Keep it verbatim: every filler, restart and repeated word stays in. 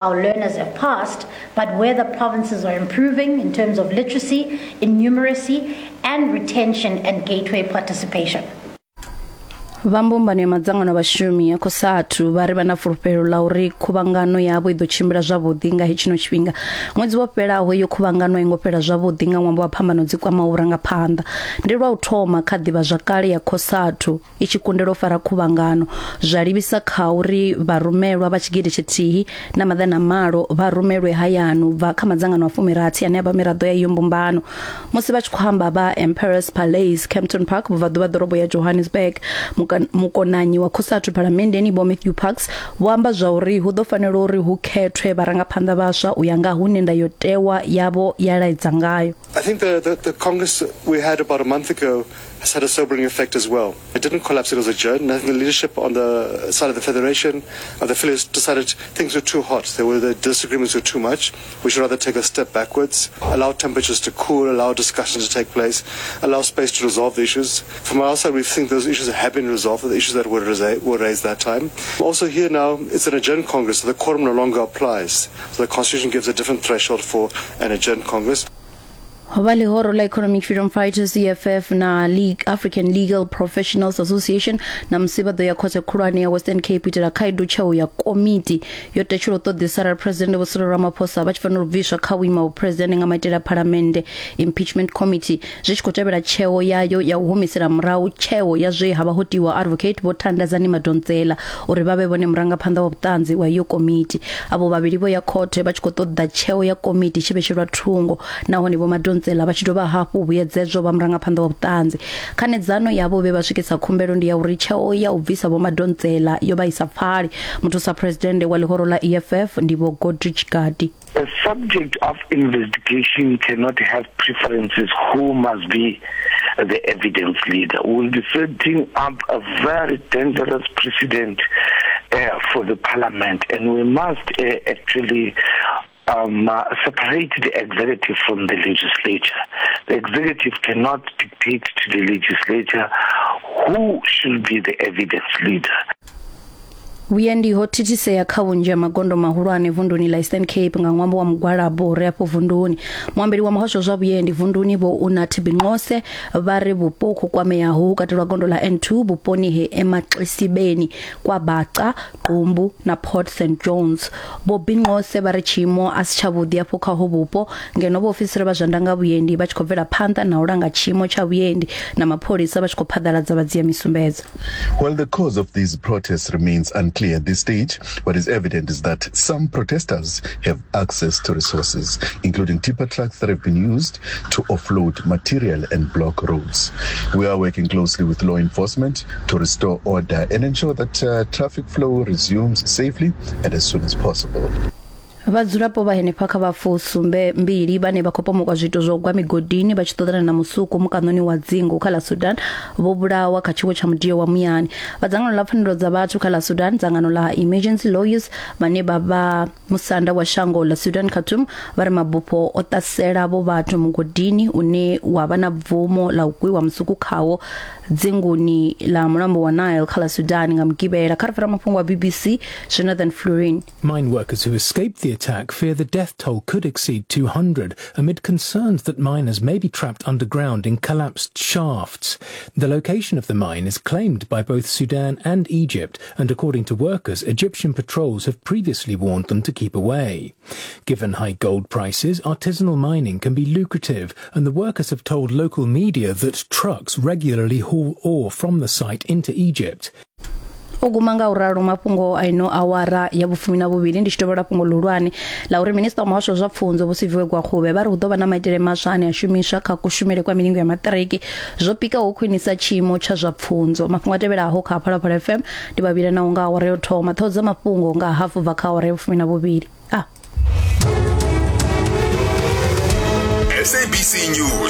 Our learners have passed, but where the provinces are improving in terms of literacy, in numeracy, and retention and gateway participation. Vha mbumbano ya madzangano a vhashumi ya COSATU vha ri vha na fulufhelo ḽa uri khuvhangano yavho i ḓo tshimbila zwavhuḓi nga hetshino tshifhinga. Ṅwedzi wo fhelaho iyo khuvhangano i ngo fhela zwavhuḓi nga ṅwambo wa phambano dzi kwamaho vhurangaphanḓa. Ndi lwa u thoma kha ḓivhazwakale ya COSATU i tshi kundelwa u fara khuvhangano, zwa livhisa kha uri vharumelwa vha tshigidi tshithihi na maḓana malo vha rumelwe hayani u bva kha madzangano a fumirathi ane a vha miraḓo ya iyo mbumbano. Musi vha tshi khou amba vha Emperors Palace, Kempton Park, vhubvaḓuvha ḓorobo ya Johannesburg, mukonanyi wa COSATU phalamenndeni Vho Matthew Parks vho amba zwa uri hu ḓo fanela uri hu khethwe vharangaphanḓa vhaswa u ya nga hune ndayotewa yavho ya laedza ngayo. I think the, the, the Congress we had about a month ago has had a sobering effect as well. It didn't collapse, it was adjourned. I think the leadership on the side of the Federation, uh, the affiliates decided things were too hot. There were, the disagreements were too much. We should rather take a step backwards, allow temperatures to cool, allow discussions to take place, allow space to resolve the issues. From our side, we think those issues have been resolved, the issues that were, were raised that time. Also here now, it's an adjourned Congress, so the quorum no longer applies. So the Constitution gives a different threshold for an adjourned Congress. Vha ḽihoro ḽa Economic Freedom Fighters E F F na League African Legal Professionals Association na musi vha ḓo ya khothe khulwane ya Western Cape itela khaedu tsheo ya komiti yo tetshela u ṱoḓisa arali President Vho Cyril Ramaphosa vha tshi fanela u bviswa kha vhuimo ha vhupresidennde nga maitele a phalamennde impeachment committee, zwi tshi khou tevhela tsheo yayo ya u humisela murahu tsheo ya zwe ha vha ho tiwa advocate Vho Thandazani Madonsela uri vha vhe vhone murangaphanḓa wa vhuṱanzi wa iyo komiti. Avho vhavhili vho ya khothe vha tshi khou ṱoḓa tsheo ya komiti tshi vhetshelwa thungo, nahone Vho Madonsela vha tshi dovha hafhu vhuyedzedzwa vha murangaphanḓa wa vhuṱanzi. Khanedzano yavho vhe vha swikisa khumbelo ndi ya uri tsheo ya u bvisa Vho Madonsela yo vha isa pfali. Muthusa president wa ḽihoro ḽa E F F ndi Vho Godrich Gadi. A subject of investigation cannot have preferences who must be the evidence leader. We will be setting up a very dangerous precedent uh, for the parliament, and we must uh, actually Um, uh, separate the executive from the legislature. The executive cannot dictate to the legislature who should be the evidence leader. Vhuendi ho thithisea kha vhunzhi ha magondo mahulwane vunduni ḽa Eastern Cape nga ṅwambo wa mugwalabo uri afho vunduni. Muambeli wa muhasho zwa vhuendi vunduni Vho Unathi Binqose vha ri vhupo ho kwameaho hu katelwa gondo ḽa N two vhuponi he Emaxisibeni kwa Baca, Qumbu na Port Saint John's. Vho Binqose vha ri tshiimo a si tshavhuḓi afho kha ho vhupo ngeno vhaofisiri vha zwa ndanga vhuendi vha tshi khou bvela phanḓa na u langa tshiimo tsha vhuendi na mapholisa vha tshi khou phaḓaladza vhadzia misumbedzo. While the cause of these protests remains unclear at this stage, what is evident is that some protesters have access to resources, including tipper trucks that have been used to offload material and block roads. We are working closely with law enforcement to restore order and ensure that uh, traffic flow resumes safely and as soon as possible. Vhadzulapo vha henefha kha vhafusumbe mbili vhane vha khou pomokwa zwiito zwa u gwa migodini vha tshi ṱoḓana na musuku mukanoni wa dzingu kha ḽa Sudan vho vhulawa kha tshiwo tsha mudio wa muyani. Vha dzangano ḽa pfanelo dza vhathu kha ḽa Sudan, dzangano ḽa Emergency Lawyers vhane vha vha musanda wa shango ḽa Sudan Khartoum vha ri mabufho o ṱasela vho vhathu mugodini une wa vha na bvumo ḽa u gwiwa musuku khawo dzinguni ḽa mulambo wa Nile kha ḽa Sudan nga Mugivhela. Kha ri fara mafhungo a B B C, Jonathan Florin. Mine workers who escaped the attack fear the death toll could exceed two hundred amid concerns that miners may be trapped underground in collapsed shafts. The location of the mine is claimed by both Sudan and Egypt, and according to workers, Egyptian patrols have previously warned them to keep away. Given high gold prices, artisanal mining can be lucrative, and the workers have told local media that trucks regularly haul ore from the site into Egypt. U guma nga uralo mafhungo aino awara ya vhufumi na vhuvhili ndi tshi tovhola fhungo ḽihulwane ḽa uri minista wa muhasho zwa pfunzo Vho Siviwe Gwarube vha ri hu ḓo vha na maitele maswa ane a shumiswa kha kushumele kwa milingo ya maṱiriki zwo pikaho khwinisa tshiimo tsha zwa pfunzo. Mafhungo a tevhelaho kha Phalaphala F M ndi vhavhili na nga awara yo thoma ṱhoho dza mafhungo nga hafu bva kha awara ya vhufumi na vhuvhili. Ah. S A B C News.